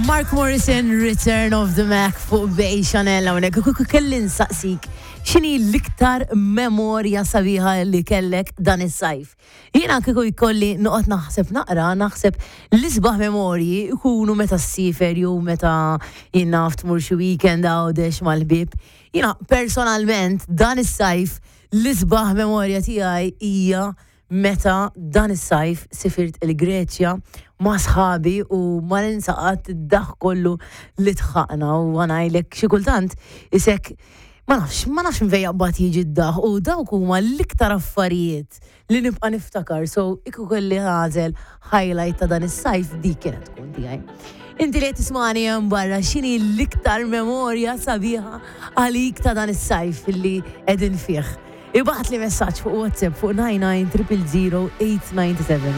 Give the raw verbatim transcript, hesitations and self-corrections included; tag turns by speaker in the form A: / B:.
A: Mark Morrison, Return of the Mac fuq Bay Chanel hawnhekk. Kieku kelli nsaqsik, x'inhi l-iktar memorja sabiħa li kellek dan is-sajf? Jiena kieku jkolli noqgħod naħseb naqra, naħseb l-isbaħ memorji ikunu meta ssiefer jew meta jien naf tmur xi weekend Għawdex mal-ħbieb. Jiena personalment dan is-sajf l-isbaħ memorja tiegħi hija meta dan is-sajf sifirt il-Greċja ma' sħabi u ma ninsa qatt id-daħk kollu li dħakna u għanajlek xi kultant isek ma nafx, ma nafx minn fejn jaqbad jiġi d-daħk u dawk huma l-iktar affarijiet li nibqa' niftakar. So kieku kelli nagħżel highlight ta' dan is-sajf, dik kienet tkun tiegħi. Inti li tismani hemm barra, x'inhi l-iktar memorja sabiħa għalik ta' dan is-sajf li qegħdin fih? Ibgħatli messaġġ fuq WhatsApp fuq nine nine triple zero eight nine seven.